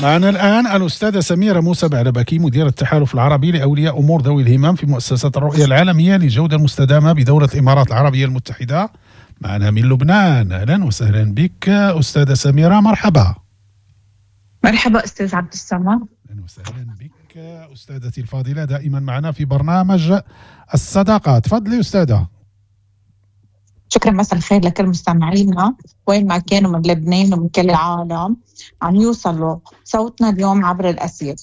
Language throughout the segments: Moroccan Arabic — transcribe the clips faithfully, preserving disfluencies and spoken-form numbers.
معنا الآن الأستاذة سميرة موسى بعلبكي، مديرة التحالف العربي لأولياء أمور ذوي الهمم في مؤسسة الرؤية العالمية للجودة المستدامة بدولة الإمارات العربية المتحدة، معنا من لبنان. أهلا وسهلا بك أستاذة سميرة، مرحبا. مرحبا أستاذ عبد الصمد. أهلا وسهلا بك أستاذتي الفاضلة، دائما معنا في برنامج الصداقة. تفضلي أستاذة. شكرا، مساء الخير لكل مستمعينا وين ما كانوا من لبنان ومن كل العالم عم يوصلوا صوتنا اليوم عبر الأثير.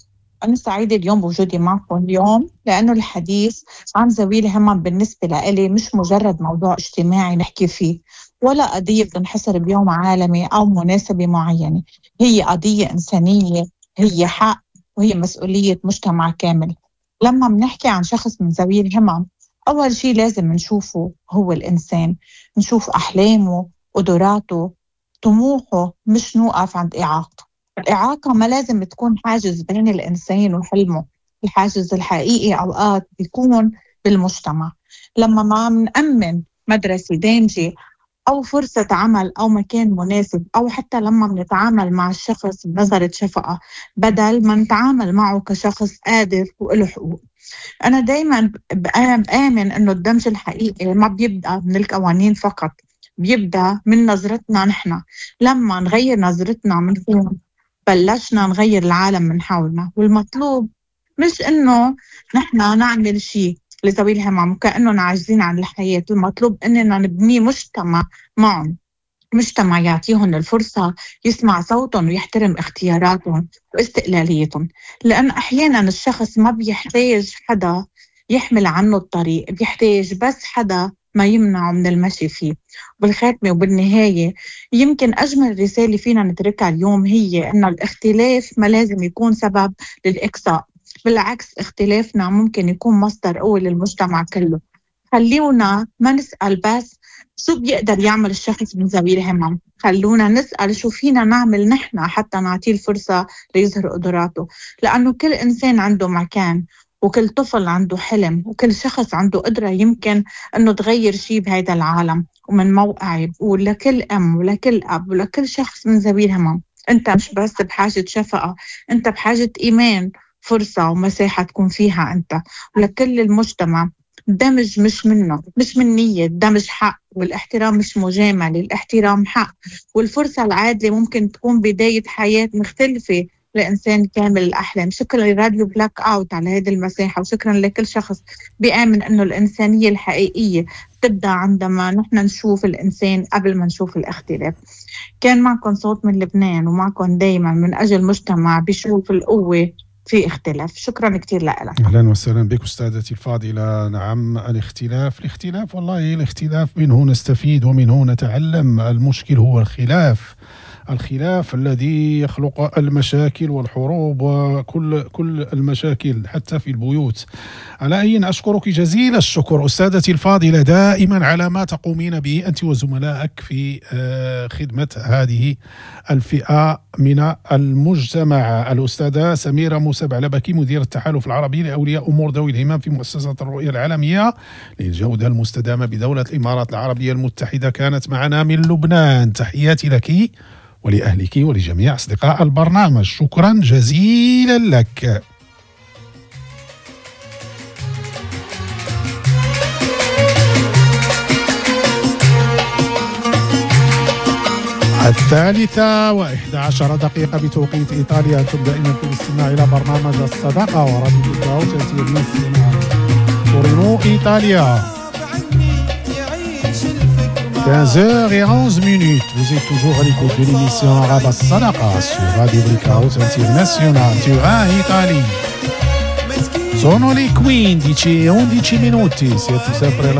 أنا سعيدة اليوم بوجودي معكم اليوم، لأنه الحديث عن ذوي الهمم بالنسبة لإلي مش مجرد موضوع اجتماعي نحكي فيه، ولا قضية بتنحصر بيوم عالمي أو مناسبة معينة. هي قضية إنسانية، هي حق، وهي مسؤولية مجتمع كامل. لما بنحكي عن شخص من ذوي الهمم، أول شيء لازم نشوفه هو الإنسان، نشوف أحلامه، قدراته، طموحه، مش نوقف عند إعاقته. الإعاقة ما لازم تكون حاجز بين الإنسان وحلمه. الحاجز الحقيقي أوقات بيكون بالمجتمع، لما ما منأمن مدرسة دامجة أو فرصة عمل أو مكان مناسب، أو حتى لما بنتعامل مع الشخص بنظرة شفقة بدل ما نتعامل معه كشخص قادر وله حقوق. أنا دايماً بآمن إنه الدمج الحقيقي ما بيبدأ من القوانين فقط، بيبدأ من نظرتنا نحن. لما نغير نظرتنا من فوق بلشنا نغير العالم من حولنا. والمطلوب مش إنه نحن نعمل شيء لذوي الهمم وكأنهم عاجزين عن الحياة، المطلوب إننا نبني مجتمع معهم، مجتمع يعطيهم الفرصة يسمع صوتهم ويحترم اختياراتهم واستقلاليتهم. لأن أحيانا الشخص ما بيحتاج حدا يحمل عنه الطريق، بيحتاج بس حدا ما يمنعه من المشي فيه. بالخاتمة وبالنهاية، يمكن أجمل رسالة فينا نتركها اليوم هي أن الاختلاف ما لازم يكون سبب للإقصاء، بالعكس اختلافنا ممكن يكون مصدر قوة للمجتمع كله. خلونا ما نسأل بس شو بيقدر يعمل الشخص من ذوي الهمم، خلونا نسأل شو فينا نعمل نحن حتى نعطيه الفرصة ليظهر قدراته. لأنه كل إنسان عنده مكان، وكل طفل عنده حلم، وكل شخص عنده قدرة يمكن أنه تغير شيء بهذا العالم. ومن موقعي بقول لكل أم ولكل أب ولكل شخص من ذوي الهمم، أنت مش بس بحاجة شفقة، أنت بحاجة إيمان، فرصة ومساحة تكون فيها أنت. ولكل المجتمع، الدمج مش منه، مش من نية، الدمج حق، والاحترام مش مجاملة، الاحترام حق. والفرصة العادلة ممكن تكون بداية حياة مختلفة لإنسان كامل الأحلام. شكرا لراديو بلاك أوت على هذه المساحة، وشكرا لكل شخص بيآمن أنه الإنسانية الحقيقية تبدأ عندما نحن نشوف الإنسان قبل ما نشوف الاختلاف. كان معكم صوت من لبنان، ومعكم دايما من أجل مجتمع بيشوف القوة في اختلاف. شكرا كثير لك. اهلا وسهلا بك استاذتي الفاضله. نعم، الاختلاف الاختلاف والله الاختلاف منه نستفيد ومنه نتعلم. المشكل هو الخلاف، الخلاف الذي يخلق المشاكل والحروب وكل كل المشاكل حتى في البيوت. على أي، أشكرك جزيل الشكر أستاذتي الفاضلة دائما على ما تقومين به أنت وزملائك في خدمة هذه الفئة من المجتمع. الأستاذة سميرة موسى بعلبكي، مدير التحالف العربي لأولياء أمور ذوي الهمم في مؤسسة الرؤية العالمية للجودة المستدامة بدولة الإمارات العربية المتحدة، كانت معنا من لبنان. تحياتي لك ولأهلك ولجميع أصدقاء البرنامج، شكرا جزيلا لك. الثالثة وإحدى عشر دقيقة بتوقيت إيطاليا. أنتم دائما في الاستماع إلى برنامج الصداقة وراديو بلاك أوت انترناسيونال تورينو إيطاليا. quinze heures et onze minutes, vous êtes toujours à l'écoute de l'émission Arabe Sadaqa sur Radio Blackout International Turin, Italie. Sono le quindici e undici minuti, siete sempre alla